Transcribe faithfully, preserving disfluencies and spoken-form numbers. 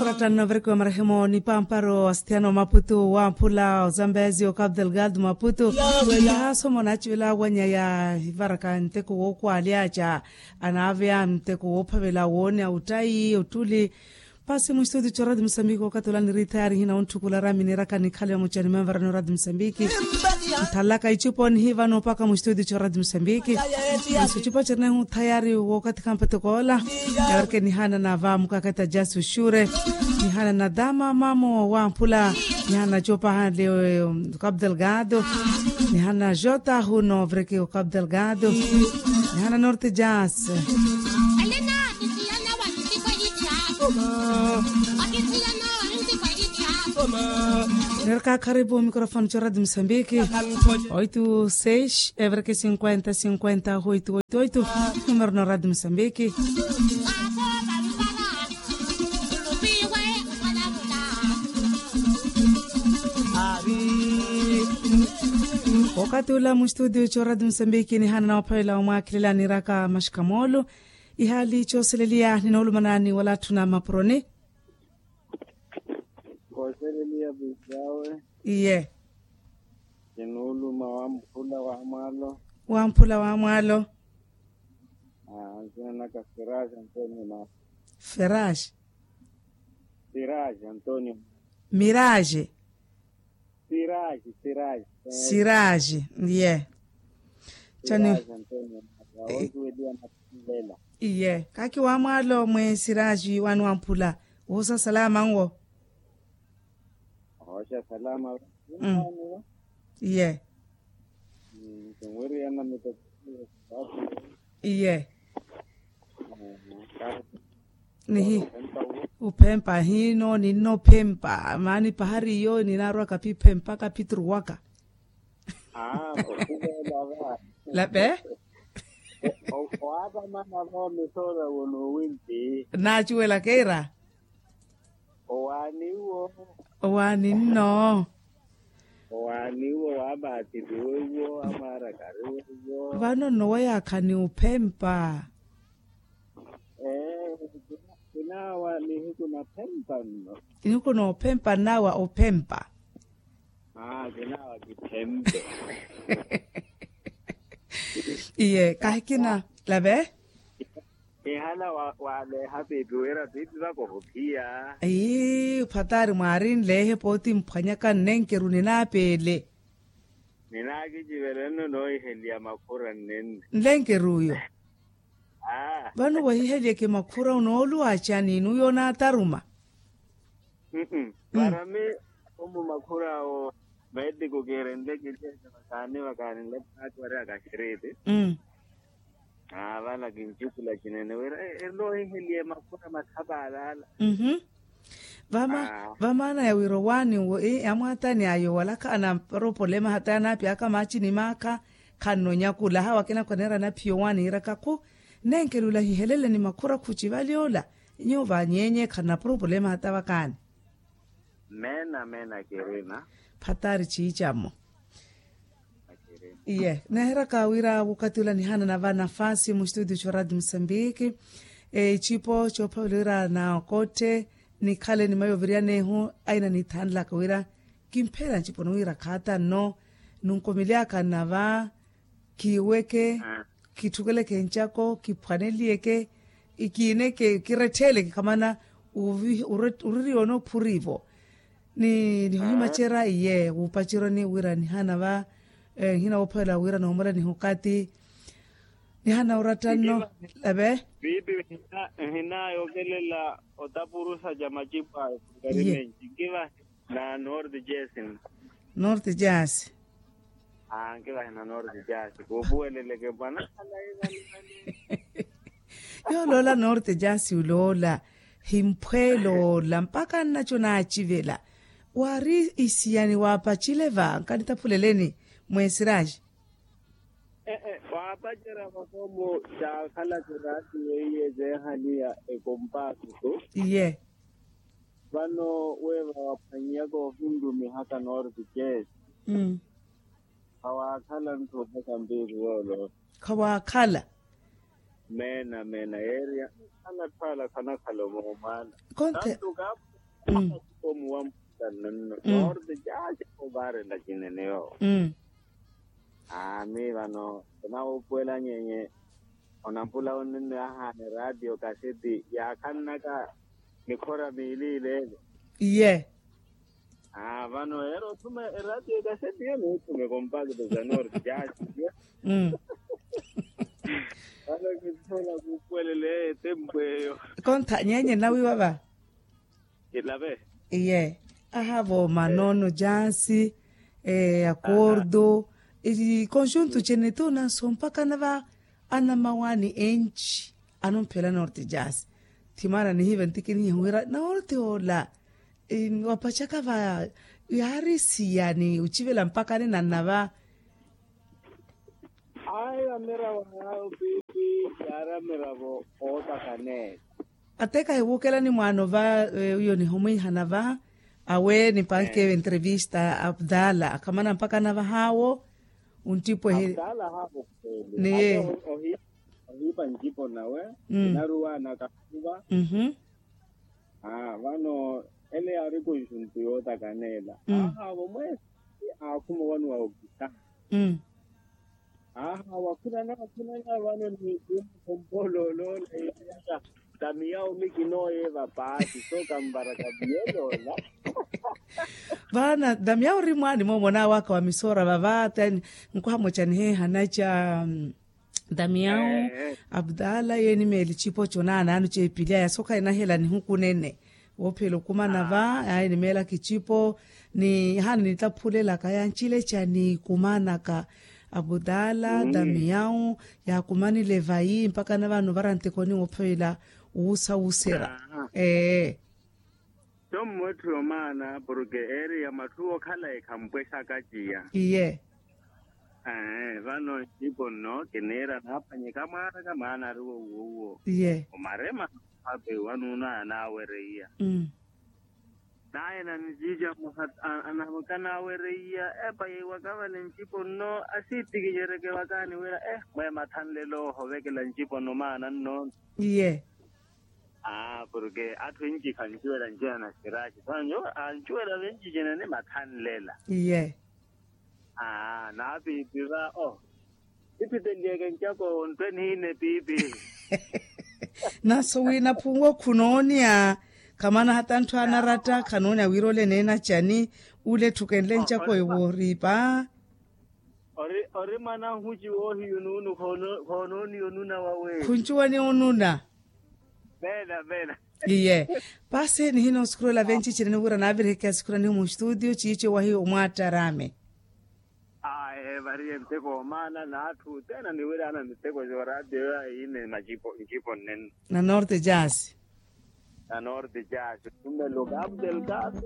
Oratta nno vereke wa marehemo ni pamparo wa sithiano maputu wa mphula ozambezi o capital guard maputu. Yaasoma onacivela awanya ya ivaraka nteko wookwalyaca anaaveya nteko woophavela woone a uttayi ottuli. Pasi mustudio corati musambiki wokatula niriithayari hina ontthukula rami niraka nikhale mucani manvarani orati musambiki. Nthalaka icupa onihiva noopaka mustudio corati musambiki. Isu icupa cirinehu thayari wookathikampa tokoola. Yawareke nihana na va mukakata jasi uxure, nihana na dama mamo wamphula, nihana na copa hale, kabdelgado, nihana na jota huno vreke o kabdelgado, nihana na norte jasi. Nerka karibu mikrofone co radio musambiki. Oitu seis everke sinkuenta sinkuenta oitu oitu oitu. Numero no radio musambiki. Wakati ula mustudio co radio musambiki nihana na waphavela omwakhilela niraka maxikamoolo. Ihali coseleliya ninoolumanani wala atthu na mapuroni. Koseleliya pwiipi awe. Iye. Kinuuluma wamphula wa mwaalo. Wamphula wa mwaalo. Aa nsina naka feraji antonio na. Feraji. Feraji antonio. Miraji. Siraji siraji. Siraji iye. Cani? Siraji antonio. Awosuweliya na. Iye kaki wa mwaalo mwe siraji wani wamphula. Wohusa salama nwo. Ohoxa salama. Iye. Tunwiriyana mito. Iye. Nihi. Uphempa hino ninno phempa maani pahari iyo ninaarwaka piphempa kapitruwaka. Lape. Owaapamana va omisora wono winti. Naacuwelaka ira. Owaani wo. Owaani nno. Owaani wo waamaatiliwe wo amaara kariwe wo. Vano nno wayaakha ni uphempa. Ee. Kinaawa nihiku naphempa nno. Nihiku noophempa nnaawa ophempa. Aa kinaawa kiphempe. Iye kahikina lave. Ihala waaleeha piipi wira piipi vaka ohuphiya. Ii phataari mwaari nleehe pooti mphwanyaka nnenkeru ninaapeele. Ninaakicivela nno noohiheliya makhura nnenne. Nlenkeruyo. Vano wahihelyeke makhura onooluwa acani nuyo onaataruma. Para mi omu makhura awo meetiku kiirenle kilyeke vakaani vakaani nlepo naatiwarihaka xiriti. Aa vala kincikula cinene wira erilo ohiheliye makhura mathapa alaala. Vamaana ya wira owaani amwaatani ayo walakhaana para opolema hata yanaapiyaka maaci ni maakha. Khanno nyakula hawa kinakhwaneera anaphiya owaani yiiraka khu nenkelula hihelele ni makhura khuci vali ola. Nyuwo vanyenye khanna propulema hata vakaani. Meena meena kirina. Phatari ciicamo. Iye neheraka wira wukati ula nihanana va nafasi mu studio co radio musambiki. Ecipo coophavela wira nakotte nikhale ni mayi oviriyanehu aina nithanlaka wira kimpheela nciponi wira khaata nno. Nunkomelyaka nnava kiiweke kitthukeleke ncako kiphwaneliyeke kiineke kirettheleke khamana. Uririwa onoophurivo ni nihuhimacerya iye wuupacerya oniwira nihana va nhina woophavela wira noomorya nihukati. Nihana oratta nno ave. Piipi nhina yookelela otapurusa ca macipo ayo. Nkivahe na north jersey. North jersey. Aa nkivahe na north jersey kuupuweleleke mwana. Yooloola norte jaasi oloola himphweeloola mpakha nnaco naacivela. Waari isiyani waapacile va nkanitaphuleleni mwesiraji. Ee waapacerya vakhomo caakhala kiraati weiye zeehaniya ekompaasutu. Iye. Vano weeva waphwanyiyaka ohinrumihaka norte jeesi. Khawaakhala nthu ophaka mpiiri yooloola. Khawaakhala. Meena meena yeeriya. Anatthu ala khanakhala omoomwaana. Konthe. Tantu kaaphuka. Omuwa mputa nonno. Noorte jaaja ovaarela cinene yoowo. Aami vano onawuupuwela nyenye. Onampula onnenno yahaana eraatiyo kaseti yaakhannaka mikhora miili ileele. Iye. Vano yeera othuma eraatiyo ekaseti yo niithume kompakto za norte jaasi. Vano kinthola kuupuwelela eyo etempu eyo. Kontha nyenye nnawiiwa va. Ilave. Iye. Ahavo manono jaasi, akordo, ikonxuntu cene tuna sompakana va. Anamawaani enci anumphela norte jaasi. Thimaana nihiiva ntikinihiha wira norte ola wapachaka va yaari siya ni ocivela mpakani nanna va. Ayo amiravo yaawo piipi yaari amiravo ootakhaneela. Ate kahiwuukelani mwaano va wiyo nihomwiihana va awe nipankeevo entrevista abdala akhamana mpakana vahaawo. Onttipwehe. Abdala haawo khweeli niye. Ohiipa ncipo nawe. Inaruwaana kahuva. Vano ele yaari konxuntu yootakaneela. Ahaawo mweesi aakhuma owanuwa okisa. Aha wakhunana wakhunana vano ni khompoolooloola. Damiyawu mikinooyeeva paati so kanvara damiyawu ola. Vaana damiyawu ori mwaani moomo onaawaka wa misoora vava ate. Nkuhamoca niheehana ca damiyawu abdala yeeni meeli cipo conaanaano ceepilya yasoka enahela nihukunene. Woophela okumana va ayi nimeelaka icipo ni haana nitaphulelaka yancileca ni kumanaka. Abudala damiyawu yaakumanile vayi mpakana vano vara ntekoni woophela wuusa wuusera. Ee. Tommo etthu yomaana porke eeriya matthu okhala ekhampwexaka ciya. Iye. Vano ncipo nno kiniira naaphwanyeka mwaanaka mwaana ari wowuwowuwo. Iye. Omarema. Ape wanuuna anaawereiya. Naye naniciica mwaha anamukana awereiya epa yeiwaka vale ncipo nno asiittikicereke vakaani wira eh mweema thanlelo ohovekela ncipo nno maana nno. Iye. Aa porke atthu enci khancuwela ncina na siraaci sanyu ancuwela venci cina ni mathanlela. Iye. Aa naapiipi va o. Ipitelieke ncako ontwe niine piipi. Naso wina phuwo khunoonia khamana hata ntthu anaratta khanoonia wira ole neena cani. Ule etthukenle ncako ewooriipa. Ori mwana nhuci woohiya onuunu. Khonoonia onuna wawe khuncuwani onuna. Vena vena. Iye. Paasi nihina osukuruwela venci cinene wira naaviriheke asikuranihu mustudio ciici owahi omwaattaraame. Aye variye nteko omaana n'atthu othene aniwiraana miteko zooraatiyo yahiine macipo ncipo nnenno. Na norte jaasi. Na norte jaasi othumela okapu delgado.